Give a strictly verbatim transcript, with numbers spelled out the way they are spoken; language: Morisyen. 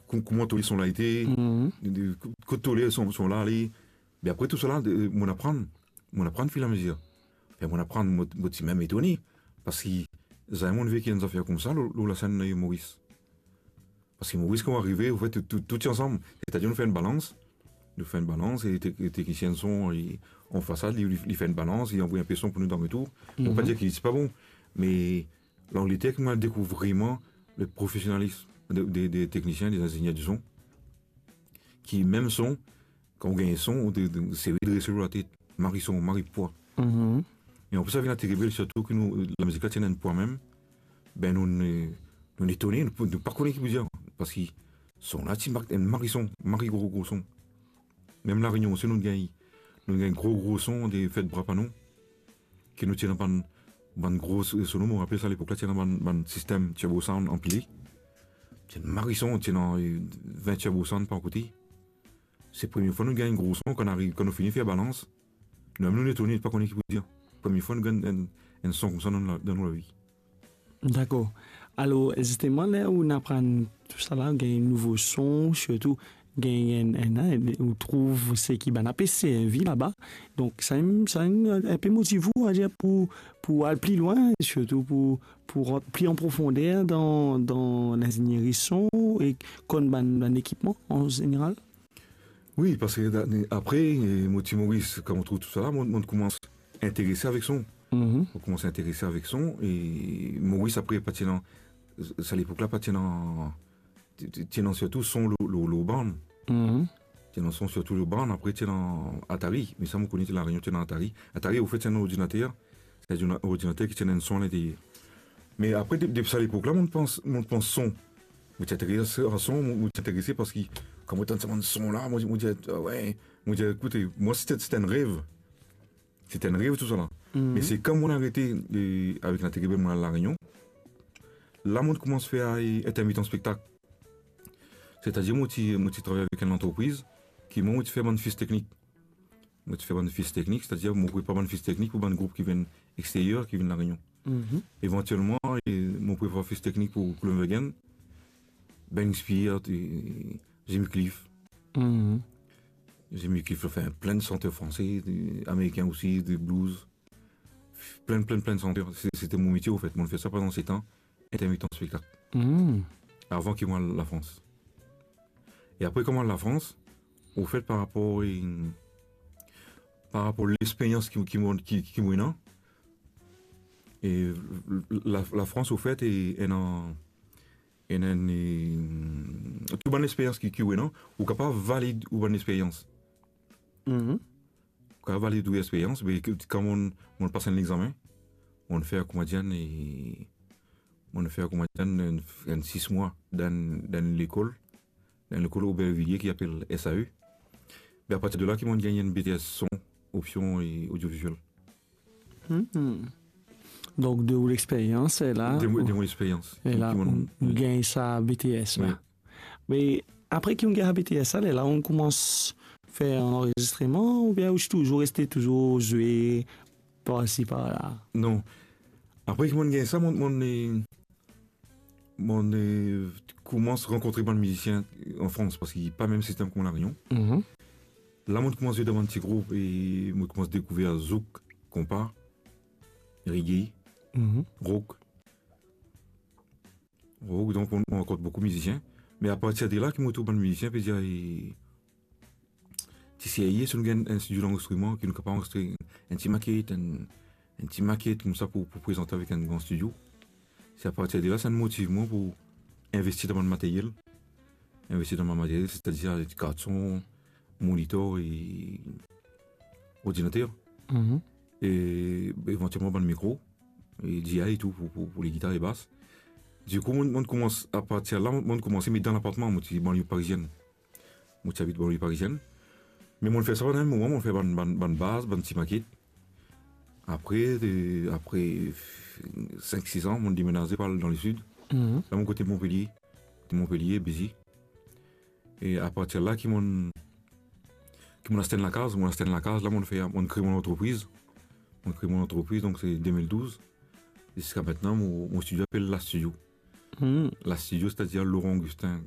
kou-, kouma to le son la ete, Mhm. de, de, ko-, kot to le son, son la ale. Me apre tou sa la, de, mo'nn aprann, mo'nn aprann firamezir. Anfin, mo'nn aprann, mo, mo ti mem etone, parski zame mo'nn veki enn zafer koumsa lor, lor lasenn, eh, Moris. Parski Moris, kan arive, anfet, tou, tou, tou ti ansam. Setadir, nou fer enn balans, nou fer enn balans, e tek-, e teknisien son, li, an fasad, li, li, li fer enn balans, li anvoy enpe son pou nou dan retour. Mo pa Mhm. dir ki li ti pa bon, me Langleter ki mo'nn dekouvrir vre le profesionalism de, de, de teknisien, de zingenier di son, ki mem son, kan ou gagn son, ou de, de, se redrese latet, mari son, mari pwa. Mhm. E anplis, avek Lateribel, sirtou ki nou, lamizik la ti ena enn pwa mem, be nou, nou, nou etone, nou, nou pa kone ki pou dir, parski son la ti ma-, enn mari son, mari gro, gro son. Mem La Réunion osi, nou gagn, nou gagn gro, gro son, de fet bra pa nou, ki nou ti ena bann, bann gro sono, mo rapel sa, lepok la, ti ena bann, bann sistem turbo sound anpile. Ti ena mari son, ti ena, eh, vin turbo sound par kote. Se premie fwa nou gagn gro son, kan nou ariv, kan nou fini fer balans, nou mem nou etone, pa kone ki pou dir. Premie fwa nou gagn enn, enn son koumsa dan nou la, dan nou lavi. Dakor. Alor, zisteman, ler ou'nn aprann tou sa la, gagn nouvo son, sirtou gagn enn, enn, enn, ou trouv seki bann la pe servi laba. Donk, sa, sa enn, enn pe motiv ou, a dir, pou, pou al pli lwin, sirtou pou, pou rant pli an profonder dan, dan lingzinieri son e konn bann, bann ekipman an zeneral? Wi, parski da-, apre, eh, mo ti Moris, kan mo trouv tou sa la, mo, mo koumans interese avek son. Mhm. Mo koumans interese avek son, e Moris apre pa ti ena, sa lepok la pa ti ena, ti, ti, ti ena sirtou son lor, lor, lor bann. Mhm. Ti ena son sirtou lor bann, apre ti ena Atari, me sa mo kone ti La Réunion ti ena Atari. Atari, anfet, ti ena ordinater, se enn ordinater ki ti ena enn son alinterier. Me apre, de-, depi sa lepok la, mo pans, mo pans son. Mo ti interese a son, mo, mo ti interese parski kan mo tann sa bann son la, mo, mo dir, ah we, mo dir, ekoute, mwa, se ti, se ti enn rev. Se ti enn rev tou sa la. Mhm. Me se kan mo'nn arete, eh, avek Lateribel, mo'nn al La Réunion, la mo'nn koumans fer, eh, intermitan spektak. Setadir, mo ti, mo ti travay avek enn lantrepriz ki mwa, mo ti fer bann fis teknik. Mo ti fer bann fis teknik, setadir mo prepar bann fis teknik pou bann group ki vinn exterier, ki vinn La Réunion. Mhm. Evantielman, eh, mo prepar fis teknik pou Glenn Wagen, Burning Spear, eh, Jimmy Cliff. Mhm. Jimmy Cliff, anfin, plin santer franse, de, amerikin osi, de blues. Plin, plin, plin santer. Se, se ti mo metie, anfet. Mo'nn fer sa pandan set an, intermitan spektak. Hmm. Avan ki mo al Lafrans. E apre, kan mo al Lafrans, anfet, par rapor, eh, par rapor lexperyans ki, ki mo, ki, ki mo ena, e la, Lafrans, anfet, e ena, ena, eh, tou bann lexperyans ki, ki ou ena, ou kapav valid ou bann lexperyans. Mhm. Kan valid ou lexperyans, be, ki, kan mo'nn, mo'nn pas enn lexamen, mo'nn fer, kouma dir, e, mo'nn fer, kouma dir, enn, enn sis mwa dan, dan lekol, dan lekol Aubervilliers ki apel S A E. Be, apartir de la ki mo'nn gagn enn B T S son, opsion e odioviziel. Hmm. Donk, de ou lexperyans, e la, De mo, de mo lexperyans. E la, Ki mo'nn ou, ou gagn sa B T S la. Wi. Me apre ki ou gagn B T S la, lerla ou koumans fer anrezistreman, oubien ou ti touzour reste touzour zwe par isi, par la? Non. Apre ki mo'nn gagn sa, mo'nn, mo'nn, eh, mo'nn, eh, koumans rankontre bann mizisien an Frans, parski pa mem sistem kouma La Réunion. Mhm. La, mo'nn koumans zwe dan bann ti group e mo'nn koumans dekouver zouk, konpa, reggae, Mhm. rock. Rock, donk, mo'nn, mo'nn rankont boukou mizisien. Me apartir de la, ki mo trouv bann mizisien pe dir, "Ey, ti serye, si nou gagn enn stidio lanrezistriman, ki nou kapav anrezistre enn ti maket, enn, enn ti maket koumsa pou, pou prezante avek enn gran stidio." Se apartir de la, sa inn motiv mwa pou investi dan bann materyel. Investi dan bann materyel, setadir ti kart son, monitor e ordinater. Mhm. E evantielman bann mikro, e D I e tou pou, pou, pou legitar e bas. Dikou, mo'nn, mo'nn koumans, apartir la, mo'nn, mo'nn koumans met dan lapartman, mo ti banlio parizienn. Mo ti abit banlio parizienn. Me mo'nn fer sa pandan enn moman, mo'nn fer bann, bann, bann baz, bann ti maket. Apre, de, apre sink, sis an, mo'nn demenaze pou al dan lesid. Mhm. La, mo kote Montpellier. Kote Montpellier, Béziers. E apartir la ki mo'nn, ki mo'nn aste enn lakaz, mo'nn aste enn lakaz, la mo'nn fer, mo'nn kre mo lantrepriz. Mo'nn kre mo lantrepriz, donk se de mil douz. Ziska mintnan, mo, mo stidio apel La Studio. Hmm. La Studio, setadir Laurent Augustin